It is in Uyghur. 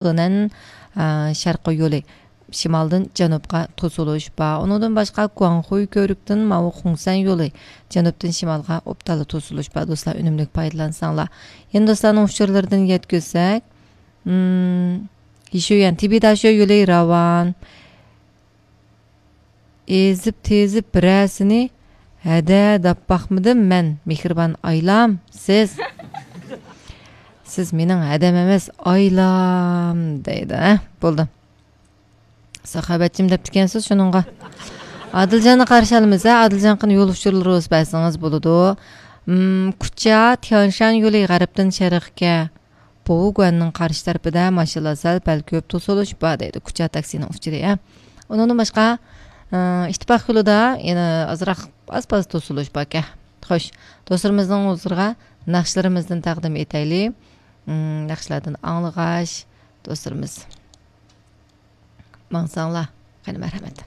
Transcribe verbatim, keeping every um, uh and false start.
لېنەن، ئە، شەرقىي يولى شىمالدىن جەنۇبقا توسۇلۇش بار. ئۇنىڭدىن باشقا گۇاڭخۇي كۆۋرۈكتىن ماۋۇ خۇڭسەن يولى جەنۇبتىن شىمالغا ئوبدانلا توسۇلۇش بار، دوستلار، ئۈنۈملۈك پايدىلانساڭلار. يەنە دوستلارنىڭ ئۇچۇرلىرىدىن يەتكۈزسەك، مم، يىشۈيۈەن تىبىداشۆ يولى راۋان. ئېزىپ تېزىپ بىرەرسىنى ھەدە دەپ باقمىدىم مەن، مېھرىبان ئايلام، سىز. سىز مېنىڭ ھەدەم ئەمەس، ئايلام دەيدۇ، ھە؟ بولدى. ساخاۋەتچىم دەپتىكەنسىز شۇنىڭغا. ئادىلجاننى قارشى ئالىمىز، ھە؟ ئادىلجان قېنى يول ئۇچۇرلىرى بولسا بەرسىڭىز بولىدۇ. مم، كۇچا، تيانشان يولى غەربتىن شەرققە. بوۋۇگۇەننىڭ قارشى تەرىپىدە ماشىنىلار سەل پەل كۆپ توسۇلۇش بار دەيدۇ، كۇچا تاكسىنىڭ ئۇچۇرى، ھە. ئۇنىڭدىن باشقا، ئى، ئىتتىپاق يولىدا يەنە ئازراق ئاز-پاز توسۇلۇش باركەن. خوش، دوستلىرىمىزنىڭ ھۇزۇرىغا ناخشىلىرىمىزدىن تەقدىم ئېتەيلى. ئىم، ناخشىلاردىن ئاڭلىغاچ، دوستلىرىمىز ماڭساڭلار، قېنى، مەرھەمەت.